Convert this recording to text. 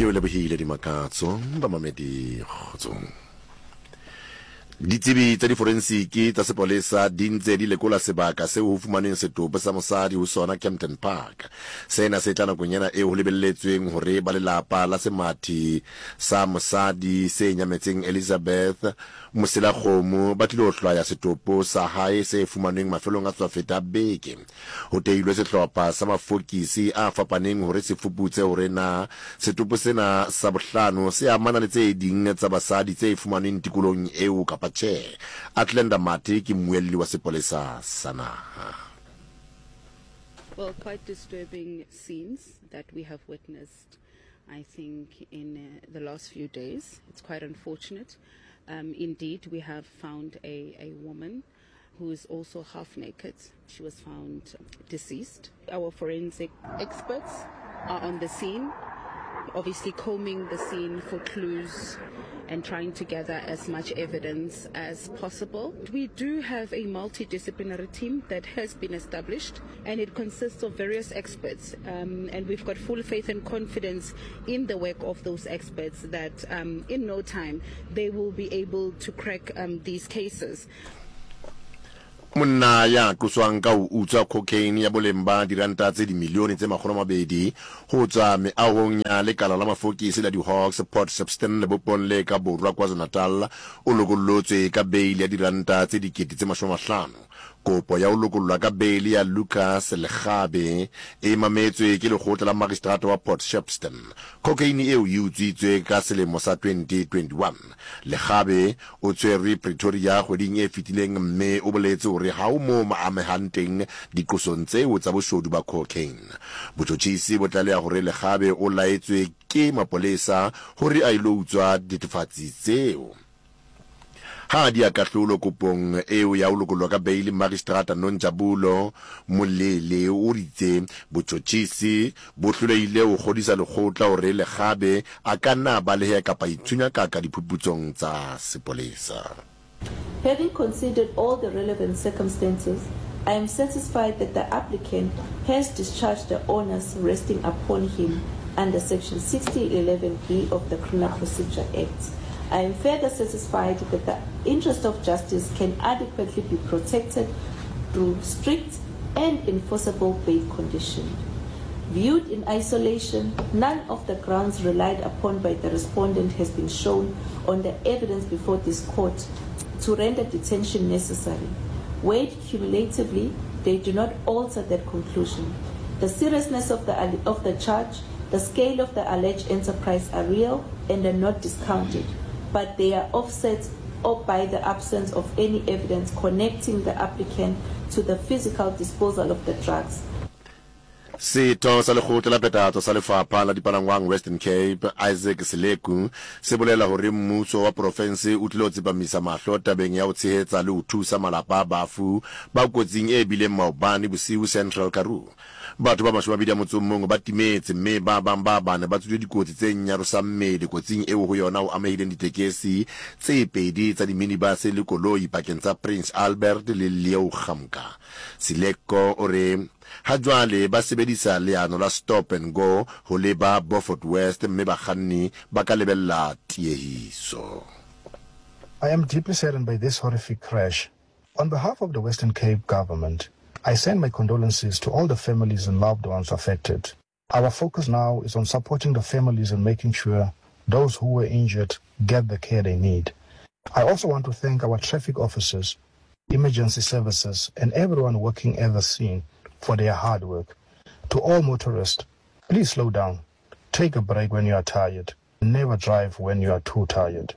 Ke o lebohile Dimakatso, bamamedi kgotsong. Ditsebi tsa diforensiki tsa sepolesa di ntse di lekola sebaka seo ho fumanweng setopo sa mosadi ho sona Kempton Park. Sena se tla nakong ena eo ho lebelletsweng hore ba lelapa la semathi sa mosadi se nyametseng Elizabeth Moselakgomo ba tlilo hlwaya setopo sa hae se fumanweng mafelong a tswafeta a beke. Ho tehilwe sehlopha sa mafokisi a fapaneng hore se fuputse hore na setopo sena sa bohlano se amana le tse ding tsa basadi tse fumanweng tikolohong eo kapa tjhe. Athlenda Mathe ke mmuelli wa sepolesa sa naha. Well, quite disturbing scenes that we have witnessed, I think, in uh, the last few days. It's quite unfortunate. Um, indeed, we have found a, a woman who is also half naked. She was found deceased. Our forensic experts are on the scene, obviously combing the scene for clues and trying to gather as much evidence as possible. We do have a multidisciplinary team that has been established and it consists of various experts. Um, and we've got full faith and confidence in the work of those experts that um, in no time they will be able to crack um, these cases. Monna ya qoswang ka ho utswa cocaine ya boleng ba diranta tse dimilione tse 200 ho tswa meahong ya lekala la mafokisi la di-Hawks Port Shepstone lebopong le ka borwa KwaZulu-Natal o lokollotswe ka beili ya diranta tse 50,000. Kopo ya ho lokollwa ka beili ya Lucas Lekgabe e mametswe ke lekgotla la magistrata wa Port Shepstone. Cocaine eo e utswitswe ka selemo sa 2021. Lekgabe o tshwerwe Pretoria kgweding e fetileng mme o boletse hore ha ho moo a amehang teng diqosong tseo tsa boshodu ba cocaine. Botjhotjhisi bo tlaleha hore Lekgabe o laetswe ke mapolesa hore a ilo utswa dithethefatsi tseo. Ha a diya kahlolo kopong eo ya ho lokollwa ka beili, Magistrata Nonjabulo Molele o itse botjhotjhisi bo hlolehile ho kgodisa lekgotla hore Lekgabe a ka nna a baleha kapa a itshunyakaka diphuputsong tsa sepolesa. Having considered all the relevant circumstances, I am satisfied that the applicant has discharged the onus resting upon him under section 6011B of the Criminal Procedure Act. I am further satisfied that the interest of justice can adequately be protected through strict and enforceable bail condition. Viewed in isolation, none of the grounds relied upon by the respondent has been shown on the evidence before this court to render detention necessary. Weighed cumulatively, they do not alter that conclusion. The seriousness of the, of the charge, the scale of the alleged enterprise are real and are not discounted, but they are offset or by the absence of any evidence connecting the applicant to the physical disposal of the drugs. Setho sa Lekgotla la Phethahatso sa Lefapha la Dipalangwang Western Cape, Isaac Sileku, se bolela hore mmuso wa porofense o tlilo tsepamisa mahlo tabeng ya ho tshehetsa le ho thusa malapa a bafu ba kotsing e bileng maobane bosiu Central Karoo. Batho ba 28 ba timetse mme ba bang ba bane ba tswile dikotsi tse nyarosang mmele kotsing eo ho yona ho amehileng ditekesi tse pedi tsa diminibase le koloi pakeng tsa Prince Albert le Leeugamka. Silekko o re ha jwale ba sebedisa leano la stop and go ho leba Beaufort West mme bakganni ba ka lebella tiehiso. I am deeply saddened by this horrific crash. On behalf of the Western Cape government, I send my condolences to all the families and loved ones affected. Our focus now is on supporting the families and making sure those who were injured get the care they need. I also want to thank our traffic officers, emergency services, and everyone working at the scene for their hard work. To all motorists, please slow down, take a break when you are tired, never drive when you are too tired.